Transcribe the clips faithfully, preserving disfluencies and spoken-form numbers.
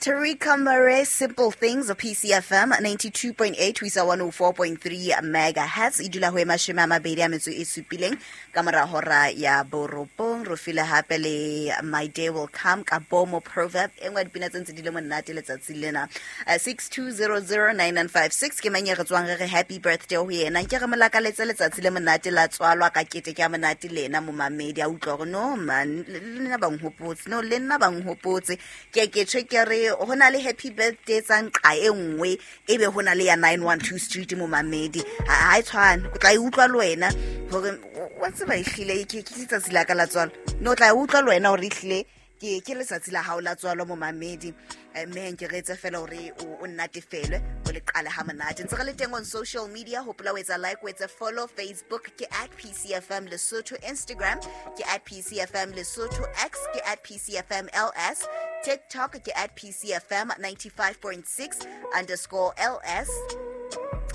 Tarika Murray, Simple Things of P C F M ninety-two point eight ho isa one oh four point three megahertz. E dula ho e mashome a mabedi a metso e supileng ka mora hora ya borobong. Re file hape le My Day Will Come ka Bomo Proverb. E nngwe ya dipina tse ntse di le monate letsatsi lena. Uh, six two zero zero nine nine five six ke mang e re tswang re re happy birthday ho yena. Nke re mo lakaletse letsatsi le monate la tswalwa ka kete ke a monate lena momamedi a utlwa hore no man le nna ba nhopotse, no le nna ba nhopotse. Ke ke tjhe ke re ho na le happy birthday tsa nqa e nngwe ebe ho na le ya nine one two Street momamedi. Ha ha e tshwane, o tla e utlwa le wena hore wa tseba ehlile ke ke letsatsi la ka la tswalo. No tla e utlwa le wena hore ehlile ke ke letsatsi la hao la tswalo momamedi. Mme nke re etse fela hore o o nnatefelwe o le qale ha monate. Ntse re le teng on social media, hopola o etsa like, o etsa follow. Facebook ke at P C F M Lesotho, Instagram ke at P C F M Lesotho, X ke at P C F M L S, TikTok ke at P C F M ninety-five point six underscore L S.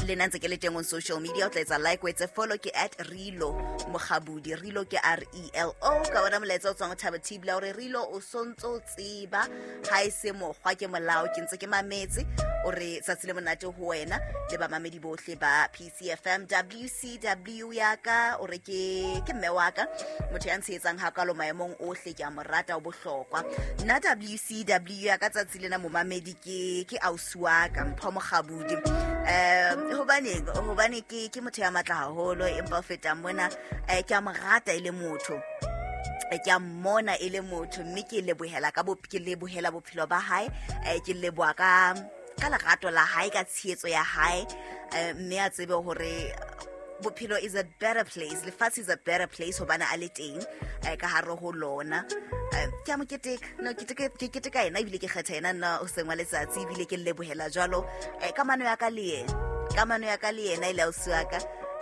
Le nna ntse ke le teng on social media, o tla etsa like, o etse follow ke at Relo Mokgabudi. Relo ke R E L O. Ka bona molaetsa o tswang ho Thabo Thibela hore Relo o sontso tseba ha e se mokgwa ke molao, ke ntse ke mametse o re tsatsi le monate ho wena le bamamedi bohle ba P C F M. W C W ya ka o re ke ke mme wa ka, motho ya ntshehetsang hakalo maemong ohle, ke a mo rata o bohlokwa. Nna W C W ya ka tsatsi lena momamedi ke ke ausi wa ka Mpho Mokgabudi. Um hobaneng hobane ke ke motho ya matla haholo, empa ho feta mona eh, ke a mo rata e le motho, ke a mmona e le motho, mme ke lebohela ka bo, ke lebohela bophelo ba hae, eh, ke leboha ka ka lerato la hae, ka tshehetso ya hae, eh, mme a tsebe hore bophelo is a better place, lefatshe is a better place hobane a le teng, eh, ka hare ho lona. Eh, ke a mo keteka, no, ke keteka, ke keteka yena ebile ke kgetha yena nna hoseng wa letsatsi, ebile ke lebohela jwalo, eh, kamano ya ka le yena, kamano ya ka le yena e le ausi wa ka,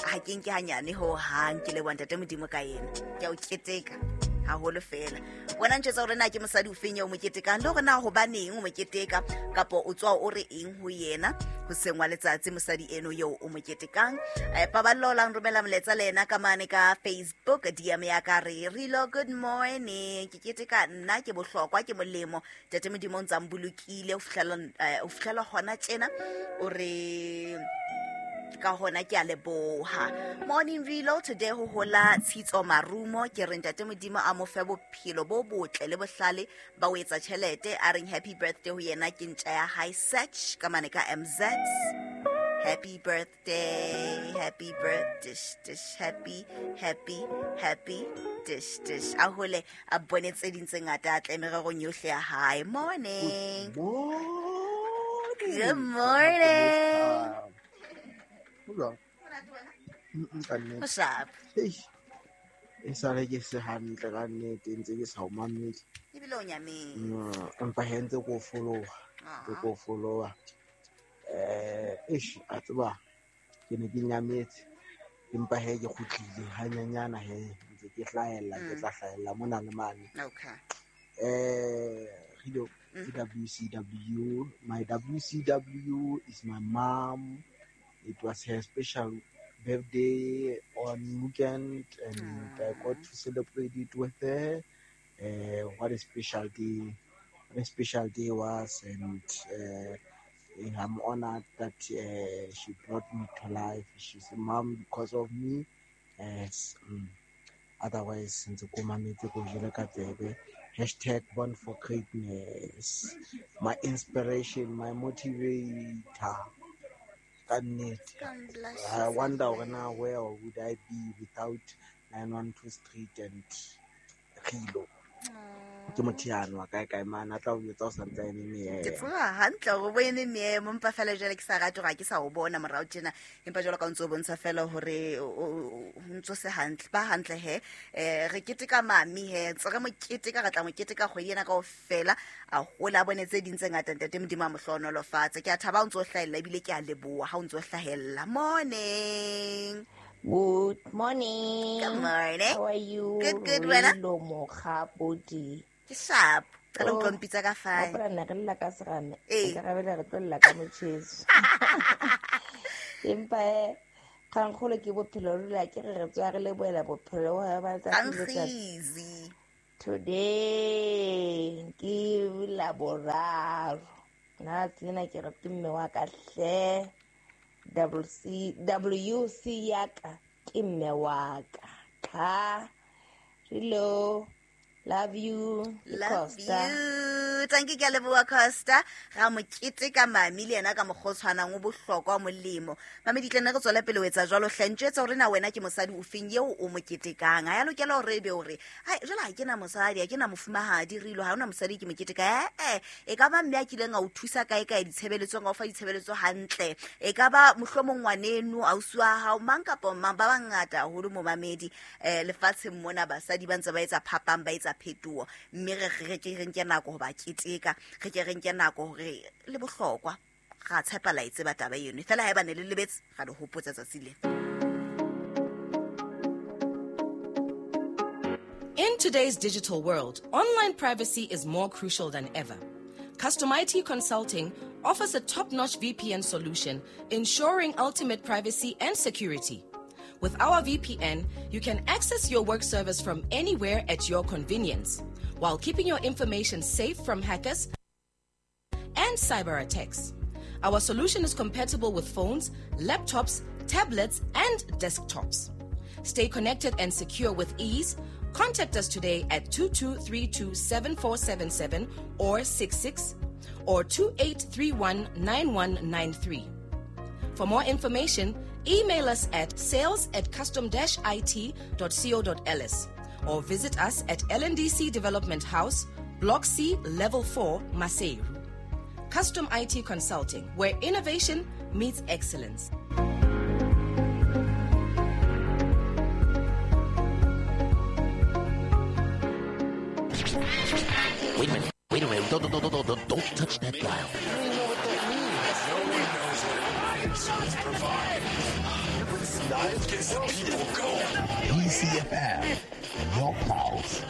ha ke nke hanyane ho hang, ke leboha Ntate Modimo ka yena, ke a o keteka haholo fela. Wena ntjwetsa hore na ke mosadi o feng eo o mo ketekang, le hore na hobaneng o mo keteka, kapa o tswa o re eng ho yena hoseng wa letsatsi mosadi eno eo o mo ketekang. Eh, Paballo la nromela molaetsa le yena ka mane ka Facebook D M ya ka re Relo good morning, ke keteka nna, ke bohlokwa, ke molemo, Ntate Modimo o ntsa mbolokile ho fihlela, eh, ho fihlela hona tjena, o re ka hona ke a leboha. Morning Relo, today ho hola Tshitso Marumo, ke re Ntate Modimo a mo fe bophelo bo botle le bohlale ba ho etsa tjhelete, a reng happy birthday ho yena ke ntja ya hae Search ka mane ka M Z. Happy birthday, happy birthday, dish, dish, happy, happy, happy, dish, dish. A hole a bone tse ding tse ngata, a tle mererong yohle ya hae. Morning. Good morning. Good morning. Jwang? Mm, ka nnete. What's up? Eish. E sale ke se hantle ka nnete, ntse ke sa o mamele. Ebile o nyameng. Mm, empa he ntse ke o follow-a. Ah. Ke o follow-a. Eh, eish, a tseba ke ne ke nyametse. Empa he ke kgutlile hanyenyana he, ntse ke hlahella, ke Mm. tla hlahella mona le mane. Okay. Eh, Relo, Mm. ke W C W. My W C W is my mom. It was her special birthday on weekend, and I got to celebrate it with her. Uh, what a special day! What a special day was, and, uh, I'm honored that, uh, she brought me to life. She's a mom because of me. As, um, otherwise, since ko mametse ko jele ka tsebe. Hashtag born for greatness. My inspiration, my motivator. Ka nnete. God bless I you. wonder hore na where would I be without nine one two Street and Relo. Ke motho yane wa kae kae mane, a tla o jwetsa o sa ntse a eme meemo. Ke tseba hantle hore o eme meemo, empa feela jwale ke sa rate hore ha ke sa o bona morao tjena, empa jwalo ka o ntso o bontsha feela hore o, o, o ntso se hantle, ba hantle he. Eh, re keteka mami he, ntse re mo keteka, re tla mo keteka kgwedi ena kaofela, a hola a bone tse ding tse ngata, Ntate Modimo a mo hlohonolofatse. Ke a thaba ha o ntso o hlahella, ebile ke a leboha ha o ntso o hlahella. Morning. Good morning. Good morning. How are you? Good, good, wena? Relo Mokgabudi. Ke sharp. Qala Oh, utlwa mpitsa ka fine. Hopola nna re lla ka serame. Ee. Re tla re re tlo lla ka motjheso. Empa, eh, kgangkgolo ke bophelo, re dula ke re re tswa re lebohela bophelo bo ba letsatsi le letsatsi. Kgankgizi. Today ke Laboraro. Nna tsena ke re ke mme wa ka hle. W C W C ya ka ke mme wa ka. Cha. Hello. Love you. Love Costa. you. Tanki ke a leboha Costa. Ra mo keteka mami le yena ka mokgwa o tshwanang o bohlokwa o molemo. Mame ditlene re tswele pele ho etsa jwalo hle ntjwetsa hore na wena ke mosadi o feng eo o mo ketekang. Ha ya lokela hore ebe hore hai jwale ha ke na mosadi, ha ke na mofumahadi re ilo ha hona mosadi ke mo keteka. Eh e ka ba mme a kileng a o thusa kae kae ditshebeletsong, a o fa ditshebeletso hantle. E ka ba mohlomong ngwaneno, ausi wa hao, mang kapa mang, ba bangata haholo momamedi eh lefatsheng mona basadi ba ntse ba etsa phapang, ba etsa phetoho, mme re re ke re nke nako ho ba keteka, re ke re nke nako hore le bohlokwa. Ra tshepa la e tseba taba eno, fela haeba ne le lebetse ra le hopotsa tsatsi le. In today's digital world, online privacy is more crucial than ever. Custom I T Consulting offers a top-notch V P N solution, ensuring ultimate privacy and security. With our V P N, you can access your work service from anywhere at your convenience, while keeping your information safe from hackers and cyber attacks. Our solution is compatible with phones, laptops, tablets, and desktops. Stay connected and secure with ease. Contact us today at two two three two seven four seven seven or six six or two eight three one nine one nine three. For more information, email us at sales at custom dash I T dot co dot L S or visit us at L N D C Development House, Block C, Level four, Maseru. Custom I T Consulting, where innovation meets excellence. Wait a minute. Wait a minute. Don't, don't, don't, don't, don't touch that dial. P C F M, your pulse.